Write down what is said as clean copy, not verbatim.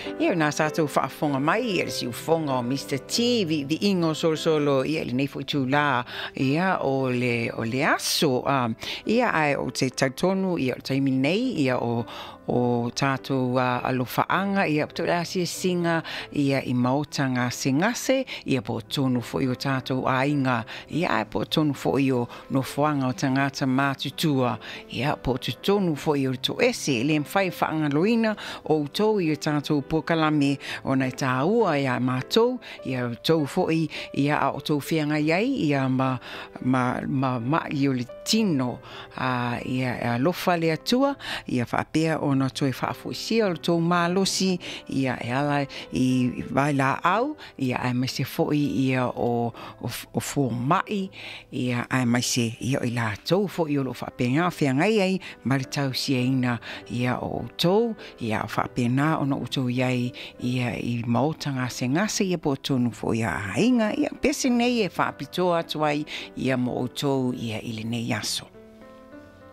Ia o lena sa outou faafofoga mai i le siufofoga o Mister T, viiviiga o solosolo ia i lenei foi itulā ia o le o le aso. Ia ae ou te talitonu ia o le taimi lenei ia o o tatou alofaaga ia po o le asiasiga ia i maota gasegase ia po o totonu foi o tatou aiga ia ae po o totonu foi o nofoaga o tagata matutua ia po o totonu foi o le toese. E le mafai e faagaloina outou i o tatou polokalame ona e tāua iā matou ia outou foi ia a outou feagai ai ia ma ma ma ma'i o le tino a ia e alofa le Atua ia faapea ona toe faafoisia lo outou malosi ia e ala i vailaau ia aemaise foi ia o o fomai ia aemaise ia o i latou foi o lo o faapena feagai ai ma le tausiaina ia o outou ia o faapena ona outou i ai ia i maota gasegase ia po o totonu foi o aiga. Ia pese nei e faapitoa atu ai ia mo outou ia i lenei aso.